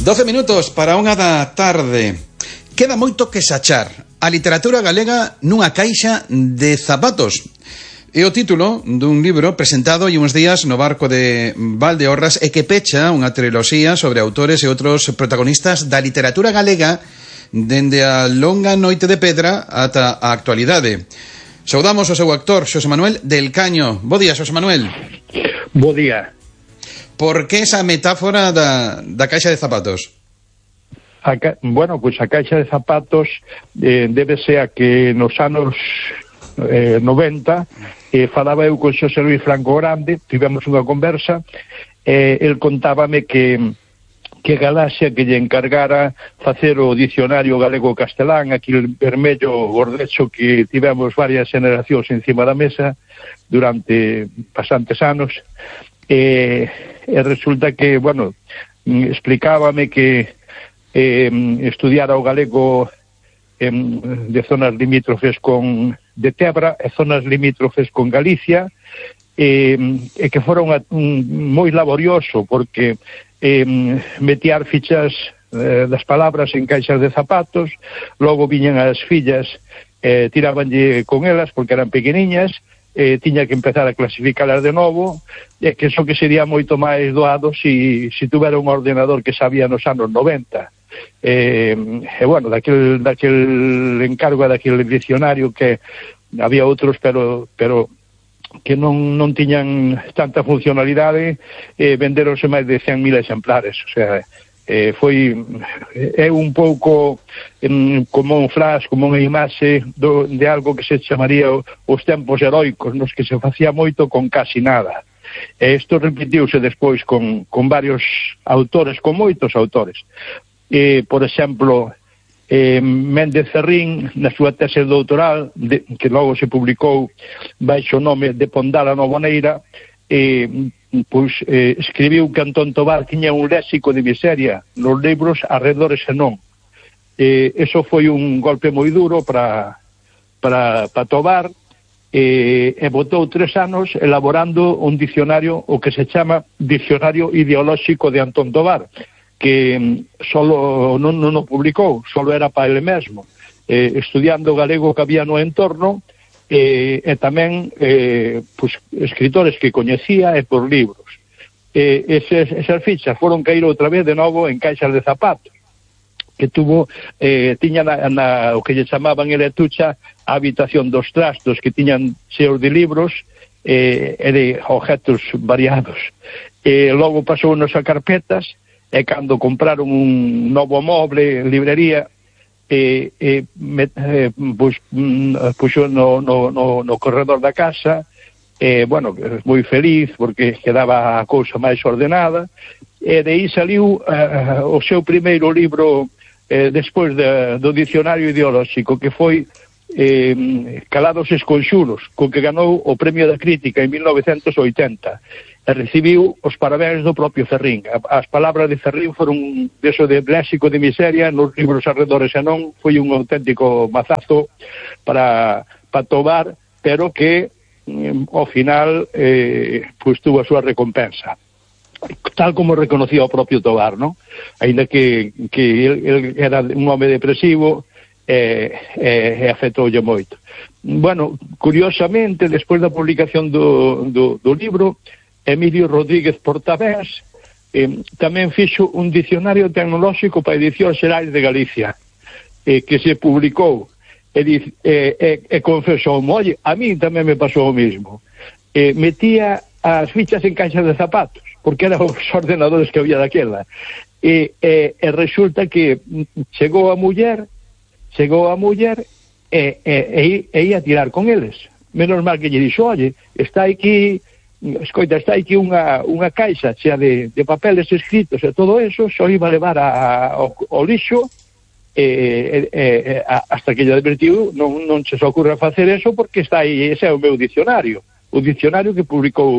12 minutos para unha da tarde. Queda moito que sachar. A literatura galega nunha caixa de zapatos. É o título dun libro presentado hai uns días no barco de Valdeorras e que pecha unha triloxía sobre autores e outros protagonistas da literatura galega dende a longa noite de pedra ata a actualidade. Saudamos o seu actor, Xosé Manuel del Caño. Bo día, Xosé Manuel. Bo día. Por que esa metáfora da caixa de zapatos? Bueno, pois a caixa de zapatos débese a que nos anos 90 falaba eu con Xosé Luis Franco Grande, tivemos unha conversa, el contábame que Galaxia que lle encargara facer o dicionario galego-castelán, aquel vermello gordecho que tivemos varias generacións encima da mesa durante bastantes anos, e resulta que, bueno, explicábame que estudiara o galego de zonas limítrofes de Tebra e zonas limítrofes con Galicia, e que fora moi laborioso porque metear fichas das palabras en caixas de zapatos, logo viñan as fillas, tirabanlle con elas porque eran pequeniñas, tiña que empezar a clasificalas de novo, que eso que sería moito máis doado se tuvera un ordenador que sabía nos anos 90. Bueno, daquel encargo daquel diccionario que había outros, pero que non tiñan tanta funcionalidade, venderonse máis de 100.000 exemplares, o sea, é un pouco como un flash, como unha imaxe de algo que se chamaría os tempos heroicos, nos que se facía moito con casi nada. Isto repetiuse despois con varios autores, con moitos autores. Por exemplo, Méndez Ferrín, na súa tese doutoral, que logo se publicou baixo o nome de Pondal a Novoneira, escribiu que Antón Tovar tiña un léxico de miseria nos libros arredores e non. Eso foi un golpe moi duro para Tovar, e botou 3 anos elaborando un dicionario, o que se chama Dicionario Ideolóxico de Antón Tovar, que solo non o publicou, solo era para ele mesmo, estudiando o galego que había no entorno, e tamén escritores que coñecía e por libros. Esas fichas foron caer outra vez de novo en caixas de zapatos, que tiña o que lle chamaban en Letucha a habitación dos trastos, que tiñan cheos de libros e de objetos variados. Logo pasou nos a carpetas, e cando compraron un novo moble en librería, puxo no corredor da casa, bueno, moi feliz porque quedaba a cousa máis ordenada, e de aí saliu o seu primeiro libro despois do dicionario ideolóxico, que foi Calados Esconxuros, co que ganou o Premio da Crítica en 1980, e recibiu os parabéns do propio Ferrín. As palabras de Ferrín foron deso de léxico de miseria nos libros arredores e non, foi un auténtico mazazo para Tovar, pero que ao final tuvo a súa recompensa, tal como reconocía o propio Tovar, non? Ainda que ele era un home depresivo e afectoulle moito. Bueno, curiosamente, despois da publicación do libro, Emilio Rodríguez Portabés tamén fixo un dicionario tecnolóxico para Edicións Xerais de Galicia, que se publicou, e confesou, oye, a mí tamén me pasou o mismo. Metía as fichas en caixas de zapatos, porque eran os ordenadores que había daquela, e resulta que chegou a muller e ia a tirar con eles. Menos mal que lle dixo, oye, está aquí unha caixa chea de papeles escritos e todo eso, só iba a levar ao lixo, hasta que lle advertiu, non se os ocurra facer eso porque está aí, ese é o meu dicionario, o dicionario que publicou